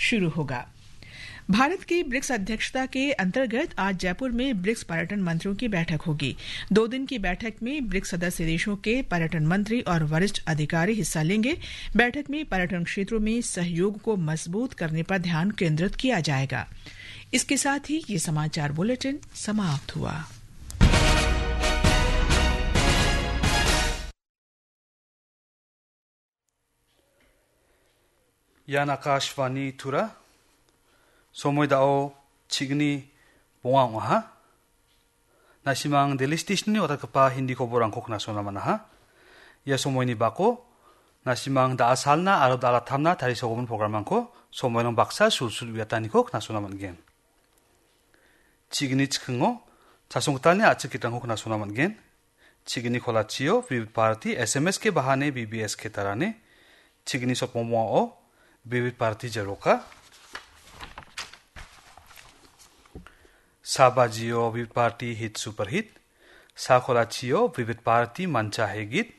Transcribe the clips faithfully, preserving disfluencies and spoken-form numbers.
शुरू होगा। भारत की ब्रिक्स अध्यक्षता के अंतर्गत आज जयपुर में ब्रिक्स पर्यटन मंत्रियों की बैठक होगी। दो दिन की बैठक में ब्रिक्स सदस्य देशों के पर्यटन मंत्री और वरिष्ठ अधिकारी हिस्सा लेंगे। बैठक में पर्यटन क्षेत्रों में सहयोग को मजबूत करने पर ध्यान केंद्रित किया जाएगा। इसके साथ ही ये समाचार बुलेटिन समाप्त हुआ। Ian Akashvani Tura. Somoi dao chigni bonga ong·aha. Nasimang Delhi Stationni watatgipa Hindi koborangko knasona man·aha. Ia somoini bako nasimang da·a salna aro da·a lattamna tarisogimin programrangko somoirang baksa sulsul uiataniko knasona man·gen. Chigni chikingo chasonggitalni a·chik gitrangko knasona man·gen. Chigni kolachio Vivid Bharati S M S ke bahane B B S ke tarane. Chigni sotbongbongao Vivid Bharati jaroka. Sa bajio Vivid Bharati Hit Super Hit. Sa kolachio Vivid Bharati Mancha Hegit.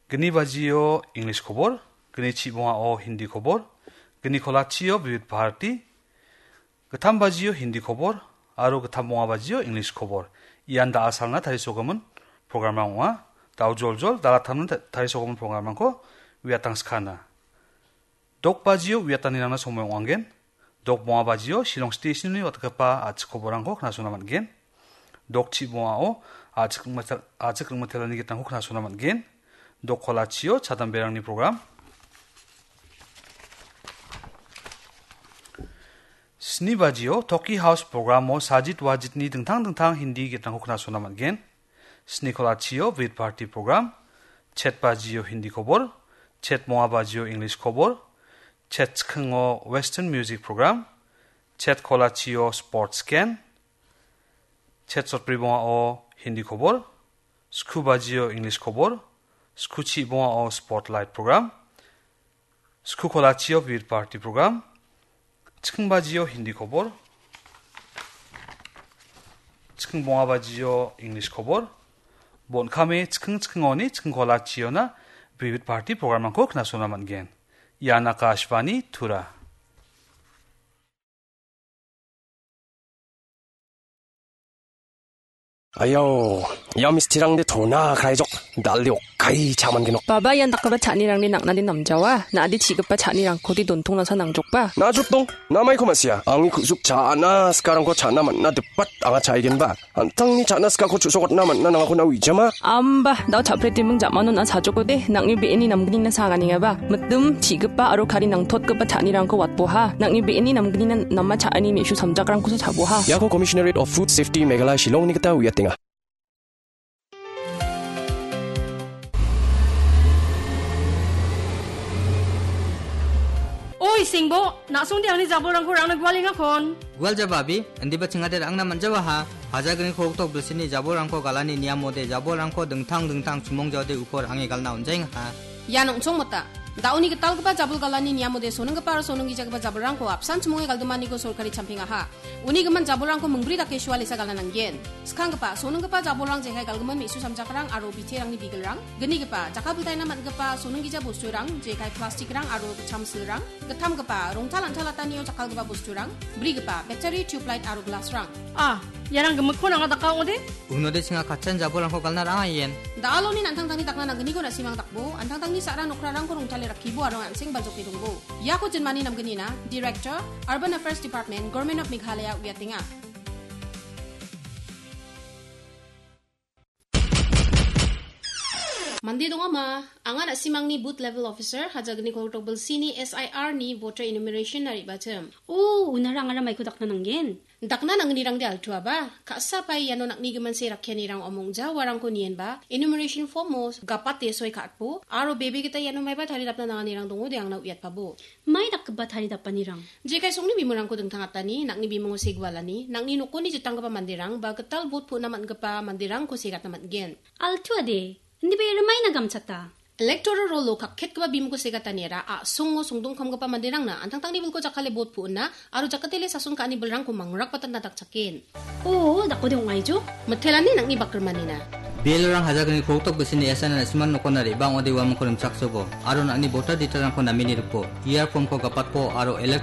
Gni bajio English kobor. Gni chibongao Hindi kobor. Gni kolachio Vivid Bharati. Gittam bajio Hindi kobor aro gittam bonga bajio English kobor. Ian da·a salna tarisogimin programrang ong·a. Dao joljol da·a lattamna ta-, tarisogimin programrangko uiatangskana. Dok bajio uiatanirangna somoi ong·angen. Dok bonga bajio Shillong Stationni watatgipa a·chik koborangko knasona man·gen. Dok chibongao a·chik ringmite-, a·chik ringmitelani gitrangko knasona man·gen. Dok kolachio chadamberangni program. Sni bajio Toki House programo Sajit Wajitni dingtang dingtang Hindi gitrangko knasona man·gen. Sni kolachio Vivid Bharati program, chet bajio Hindi kobor, chet bonga bajio English kobor, chet chikingo Western music program, chet kolachio sports scan, chet sotbri bongao Hindi kobor, sku bajio English kobor, sku chibongao spotlight program, sku kolachio Vivid Bharati program, chiking bajio Hindi kobor, chiking bonga bajio English kobor, bon·kame chiking chikingoni chiking kolachiona Vivid Bharati programrangko knasona man·gen. Ian Akashvani Tura. Ayo, ia mistirangde tona kaijok, dalde okai chaman genok. Baba, ian dakgipa cha·anirangde nang·nade namjawa, na·ade chi·gipa cha·nirangkode dontongnasa nangjokba. Na·jotdong, namaiko ma·sia, angni ku·suk cha·na sikarangko cha·na man·na dipat anga cha·aigenba. An·tangni cha·na sikako chu·sokatna man·na nangako na uijama. Amba, dao cha·pretiming ja·mano na·a sajokode, nang·ni be·eni namgnina saganengaba. Mitim, chi·gipa aro kari nangtotgipa cha·nirangko watboha. Nang·ni be·eni namgnina nama cha·ani me·su samjakrangkosa chaboha. Iako Commissionerate of Food Safety Meghalaya Shillongni gita uiatenga. Oi, Singbo, na·songde angni jabolrangko rangna gualengakon. Gual jaba, abi, indiba chingade rangna man·jawaha. Hajalgni kolgrikdok bilsini jabolrangko galani niamode jabolrangko dingtang dingtang chimong jaode uko range galna on·jaengaha. Ian ong·chongmota. Da·oni gitalgipa jabol galani niamode sonenggipa aro sonenggijagipa jabolrangko apsan chimonge galdimaniko sorkari champengaha. Uni gimin jabolrangko mingbri dake sualesa galna nanggen. Skanggipa, sonenggipa jabolrang jekai galgimin me·su samjakrang aro biterangni bigelrang, gnigipa, jakkalpiltaina man·gipa sonenggija bosturang, jekai plastikrang aro gitcham silrang, gittamgipa, rongtal antalatanio jakkalgipa bosturang, brigipa, battery, tubelight aro glassrang. Ah, iarang gimikkon anga daka ong·ode? Unode chinga katchan jabolrangko galna ranga ien. Da·aloni an·tangtangni dakna nanggniko na·simang dakbo, an·tangtangni sa·ra nokrarangko rongtale rakkibo aro an·seng baljoke dongbo. Iako jinmani namgnina, Director, Urban Affairs Department, Government of Meghalaya uiatenga. Mande dongama, anga na·simangni Booth Level Officer, Hajalgni kolgrikdok bilsini S I R ni voter enumeration-na re·bachim. O, unara angara maiko dakna nanggen? Dakna nangnirangde altuaba, ka·sa pae iano nang·ni giminse rakkianirang omongja uarangko nienba, enumeration form-o gapate soi ka·atbo, aro bebe gita iano maiba taridapna nanganirang dongode angna uiatpabo. Mai dakgipa taridapanirang? Jekai songni bimungko dingtangatani, nang·ni bimungo segualani, nang·ni nokoni jitanggipa manderang, ba gital bot pu·na man·gipa manderangko segatna man·gen. Altuade, indiba ia rimaina gamchata. Electoral roll-o kakketgipa bimungko segataniara a·songo songdongkamgipa manderangna an·tangtangni bilko jakkale bot pu·na aro jakatele sason ka·ani bilrangko mangrakbatatna dakchaken. O, dakode ong·aijo? Mitelani nang·ni bakrimanina. B L O-rang Hajalgni kolgrikdok bisini S I R-na na·simang nokona re·bang ong·ode uamangko rimchaksobo, aro nang·ni voter detail-rangko nameni ripo, E R form-ko gapatpo, aro elect-